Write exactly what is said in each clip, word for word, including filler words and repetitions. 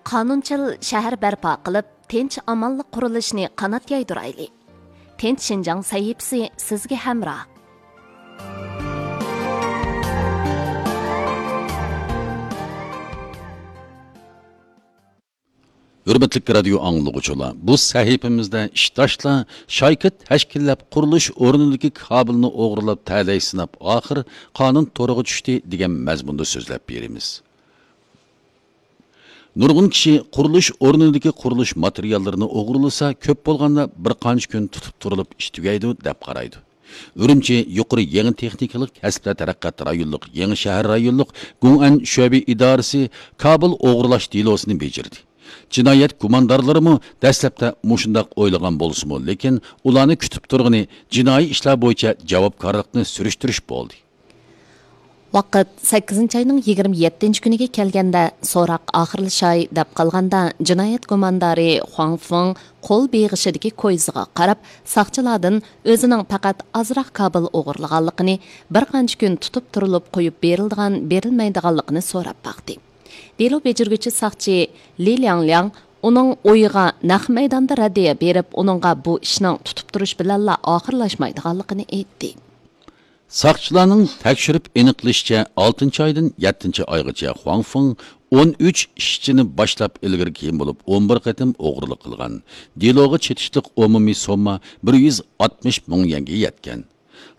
قانۇنچىل شەھەر بەرپا قىلىپ، تىنچ-ئامانلىق قۇرۇلۇشىنى قانات يايدۇرايلى. تىنچ شىنجاڭ سەھىپىسى سىزگە ھەمراھ. ھۆرمەتلىك رادىيو ئاڭلىغۇچىلار، بۇ سەھىپىمىزدە ئىشداشلار شايكا تەشكىللەپ، قۇرۇلۇش ئورنىدىكى كابېلنى ئوغرىلاپ، تەلەي سىناپ، ئاخىر قانۇن تورىغا چۈشتى دېگەن مەزمۇندا سۆزلەپ بېرىمىز. نۇرغۇن كىشى قۇرۇلۇش ئورنىدىكى قۇرۇلۇش ماتېرىياللىرىنى ئوغرىلىسا، كۆپ بولغاندا بىر قانچە كۈن تۇتۇپ تۇرۇلۇپ ئىش تۈگەيدۇ، دەپ قارايدۇ. ئۈرۈمچى يۇقىرى يېڭى تېخنىكىلىق كەسىپلەر تەرەققىيات رايونلۇق يېڭى شەھەر رايونلۇق گۇڭئەن شۆبە ئىدارىسى كابېل ئوغرىلاش دېلوسىنى بېجىردى. جىنايەت گۇماندارلىرىمۇ دەسلەپتە مۇشۇنداق ئويلىغان بولسىمۇ، لېكىن ئۇلارنى كۈتۈپ تۇرغىنى جىنايى ئىشلار بويىچە جاۋابكارلىقنى سۈرۈشتۈرۈش بولدى. ۋاقىت سەككىزىنچى ئاينىڭ يىگىرمە يەتتىنچى كۈنىگە كەلگەندە، سوراق ئاخىرلىشاي دەپ قالغاندا، جىنايەت گۇماندارى خۇاڭ فېڭ قول بېغىشىدىكى كويزىغا قاراپ، ساقچىلاردىن ئۆزىنىڭ پەقەت ئازراق كابېل ئوغرىلىغانلىقىنى، بىر قانچە كۈن تۇتۇپ تۇرۇلۇپ قويۇپ بېرىلىدىغان، بېرىلمەيدىغانلىقىنى سوراپ باقتى. دېلو بېجىرگۈچى ساقچى لى لياڭلياڭ ئۇنىڭ ئويىغا نەق مەيداندا رەددىيە بېرىپ، ئۇنىڭغا بۇ ئىشنىڭ تۇتۇپ تۇرۇش بىلەنلا ئاخىرلاشمايدىغانلىقىنى ئېيتتى. ساقچىلارنىڭ تەكشۈرۈپ ئېنىقلىشىچە، ئالتىنچى ئايدىن يەتتىنچى ئايغىچە خۇاڭ فېڭ ئون ئۈچ ئىشچىنى باشلاپ ئىلگىرى كېيىن بولۇپ ئون بىر قېتىم ئوغرىلىق قىلغان. دېلوغا چېتىشلىق ئومۇمىي سومما بىر يۈز ئاتمىش مىڭ يۈەنگە يەتكەن.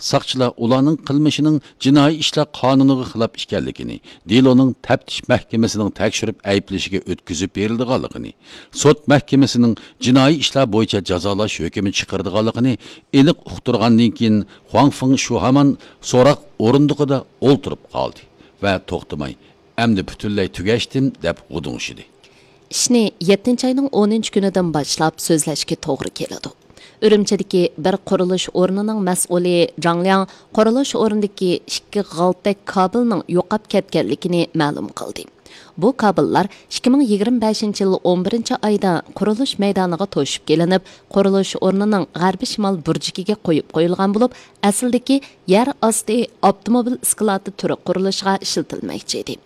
ساقچىلار ئۇلارنىڭ قىلمىشىنىڭ جىنايى ئىشلار قانۇنىغا خىلاپ ئىكەنلىكىنى، دېلونىڭ تەپتىش مەھكىمىسىنىڭ تەكشۈرۈپ ئەيىبلىشىگە ئۆتكۈزۈپ بېرىلىدىغانلىقىنى، سوت مەھكىمىسىنىڭ جىنايى ئىشلار بويىچە جازالاش ھۆكمى چىقىرىدىغانلىقىنى ئېنىق ئۇقتۇرغاندىن كېيىن، خۇاڭ فېڭ شۇ ھامان سوراق ئورۇندۇقىدا ئولتۇرۇپ قالدى ۋە توختىماي، «ئەمدى پۈتۈنلەي تۈگەشتىم» دەپ غۇدۇڭشىدى. ئىشنى يەتتىنچى ئاينىڭ ئونىنچى كۈنىدىن باشلاپ سۆزلەشكە توغرا كېلىدۇ. ئۈرۈمچىدىكى بىر قۇرۇلۇش ئورنىنىڭ مەسئۇلى جاڭ لياڭ قۇرۇلۇش ئورنىدىكى ئىككى غالتەك كابېلنىڭ يوقاپ كەتكەنلىكىنى مەلۇم قىلدى. بۇ كابېللار ئىككى مىڭ يىگىرمە بەشىنچى يىل ئون بىرىنچى ئايدا قۇرۇلۇش مەيدانىغا توشۇپ كېلىنىپ، قۇرۇلۇش ئورنىنىڭ غەربىي شىمال بۇرجىكىگە قويۇپ قويۇلغان بولۇپ، ئەسلىدىكى يەر ئاستى ئاپتوموبىل ئىسكىلاتى تۈرى قۇرۇلۇشىغا ئىشلىتىلمەكچى ئىدى.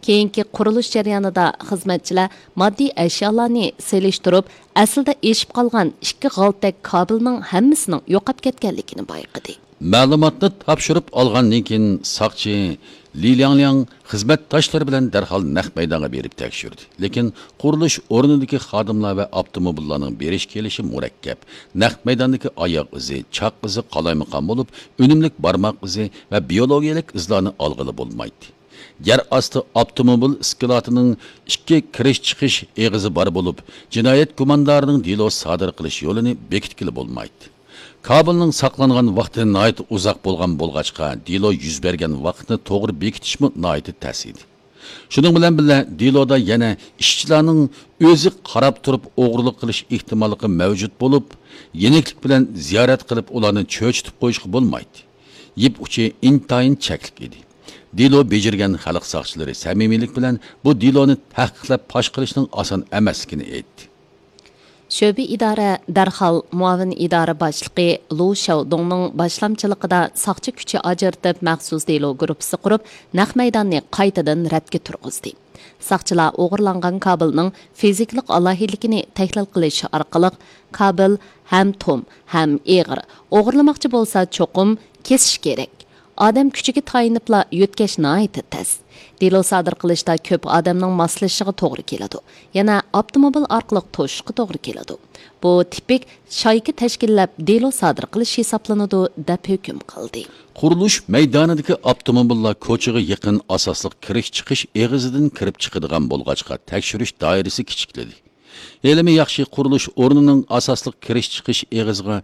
كېيىنكى قۇرۇلۇش جەريانىدا خىزمەتچىلەر ماددىي ئەشيالارنى سېلىشتۇرۇپ، ئەسلىدە ئېشىپ قالغان ئىككى غالتەك كابېلنىڭ ھەممىسىنىڭ يوقاپ كەتكەنلىكىنى بايقىدى. مەلۇماتنى تاپشۇرۇپ ئالغاندىن كېيىن، ساقچى لى لياڭلياڭ خىزمەتداشلىرى بىلەن دەرھال نەق مەيدانغا بېرىپ تەكشۈردى. لېكىن قۇرۇلۇش ئورنىدىكى خادىملار ۋە ئاپتوموبىللارنىڭ بېرىش-كېلىشى مۇرەككەپ. نەق مەيداندىكى ئاياغ ئىزى، چاق ئىزى قالايمىقان بولۇپ، ئۈنۈملۈك بارماق ئىزى ۋە بىيولوگىيەلىك ئىزلارنى ئالغىلى بولمايتتى. يەر ئاستى ئاپتوموبىل ئىسكىلاتىنىڭ ئىككى كىرىش-چىقىش ئېغىزى بار بولۇپ، جىنايەت گۇماندارىنىڭ دېلو سادىر قىلىش يولىنى بېكىتكىلى بولمايتتى. كابېلنىڭ ساقلانغان ۋاقتى ناھايىتى ئۇزاق بولغان بولغاچقا، دېلو يۈز بەرگەن ۋاقىتنى توغرا بېكىتىشمۇ ناھايىتى تەس ئىدى. شۇنىڭ بىلەن بىللە، دېلودا يەنە ئىشچىلارنىڭ ئۆزى قاراپ تۇرۇپ ئوغرىلىق قىلىش ئېھتىماللىقى مەۋجۇت بولۇپ، يېنىكلىك بىلەن زىيارەت قىلىپ، ئۇلارنى چۆچۈتۈپ قويۇشقا بولمايتتى. يىپ ئۇچى ئىنتايىن چەكلىك ئىدى. دېلو بېجىرگەن خەلق ساقچىلىرى سەمىمىيلىك بىلەن بۇ دېلونى تەھقىقلەپ پاش قىلىشنىڭ ئاسان ئەمەسلىكىنى ئېيتتى. شۆبە ئىدارە دەرھال مۇئاۋىن ئىدارە باشلىقى لۇ شياۋدۇڭنىڭ باشلامچىلىقىدا ساقچى كۈچى ئاجرىتىپ، مەخسۇس دېلو گۇرۇپپىسى قۇرۇپ، نەق مەيداننى قايتىدىن رەتكە تۇرغۇزدى. ساقچىلار ئوغرىلانغان كابېلنىڭ فىزىكىلىق ئالاھىدىلىكىنى تەھلىل قىلىش ئارقىلىق، كابېل ھەم توم، ھەم ئېغىر، ئوغرىلىماقچى بولسا چوقۇم كېسىش كېرەك. ئادەم كۈچىگە تايىنىپلا يۆتكەش ناھايىتى تەس. دېلو سادىر قىلىشتا كۆپ ئادەمنىڭ ماسلىشىشىغا توغرا كېلىدۇ. يەنە ئاپتوموبىل ئارقىلىق توشۇشقا توغرا كېلىدۇ. بۇ تىپىك شايكا تەشكىللەپ دېلو سادىر قىلىش ھېسابلىنىدۇ، دەپ ھۆكۈم قىلدى. قۇرۇلۇش مەيدانىدىكى ئاپتوموبىللار كوچىغا يېقىن ئاساسلىق كىرىش-چىقىش ئېغىزىدىن كىرىپ چىقىدىغان بولغاچقا، تەكشۈرۈش دائىرىسى كىچىكلىدى. ھېلىمۇ ياخشى، قۇرۇلۇش ئورنىنىڭ ئاساسلىق كىرىش-چىقىش ئېغىزىغا